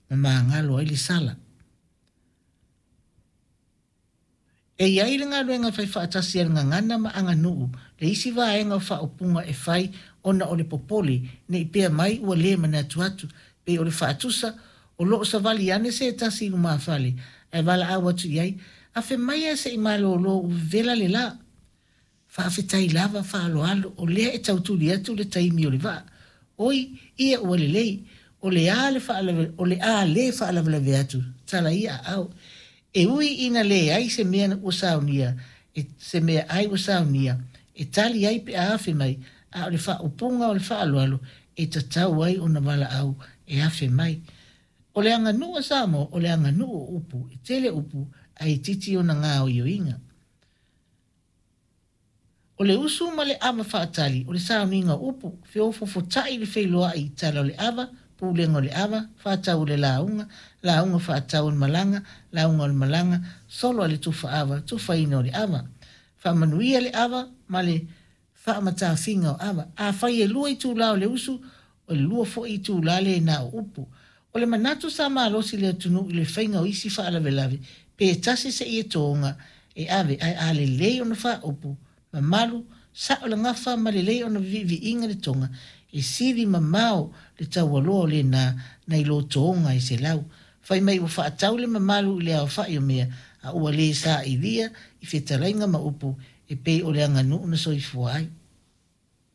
ma magalo ai le sala. E i ai le galuega e fai faatasi a le gagana ma aganuu le isi vaega o faaupuga e fai ona o le popole ne i pea mai ua le manatu atu, pei o le faatusa, o lo o savali ane se tasi i lumafale ae valaau atu i ai, Afe maia se i malolo ua vevela le la. Faafetai lava faaaloalo o lea e tau tuli atu le taimi o le vaa. Oi, ia ua lelei, o le a le o le a le faalavelave atu, tala ia aao. E ui ina leai se mea ua saunia, e, se mea ai ua saunia, e tali ai pe a afe mai, a o le faaupuga o le faaaloalo e tatau ai ona valaau e afe mai. O le aganuu a Samoa, o le aganuu o upu, e tele upu ae itiiti ona gaoioiga. O le usu ma le ava faatali, o le sauniga o upu, feofofota'i le feiloa'i i tala o le ava, pulega o le ava, faatau o le lauga, lauga faatau o le malaga, lauga o le malaga, solo a le tufa ava, tufaina o le ava. Faamanuia le ava ma le faamatafiga o ava. Afai e lua itulā o le usu, o le lua foi itulā lena o upu. O le manatu sa malosi le atunuu i le faiga o isi faalavelave, pe tasi seia toga e ave, ae a lelei ona faaupu, mamalu, sa'o le gafa ma lelei ona viiviiga le toga, e sili mamao le taualoa o lena nai lo toga e selau. Fai mai ua faatau le mamalu i le aofa'i o mea, a ua le sailia i fetalaiga ma upu e pei o le aganuu na soifua ai.